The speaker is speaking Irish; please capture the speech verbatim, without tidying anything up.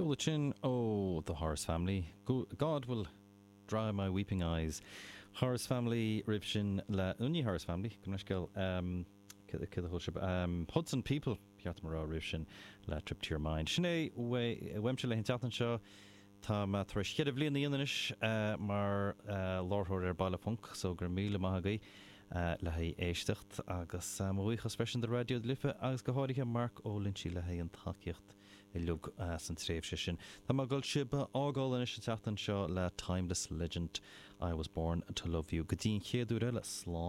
Ceol ansin ó The Horace Family. God will dry my weeping eyes. Horace Family roimh sin le Uni Horace Family go scéil um, um, Hudson People ceart mar roimh sin le Trip to Your Mind. Sin é uaimse le an tseachtain seo Tá mé tar éis ceithre bliana anois uh, mar uh, láithreoir ar Baile Func so go raibh míle maith agaibh uh, le haghaidh éisteacht agus uh, mo bhuíochas freisin do Raidió na Life agus go háirithe Mark Ó Loinsigh le haghaidh an tacaíocht uilig uh, san tréimhse sin. Tá mé ag dul sibh a fhágáil anois an tseachtain seo le Timeless Legend I was born to love you go dtí an chéad uair eile slán.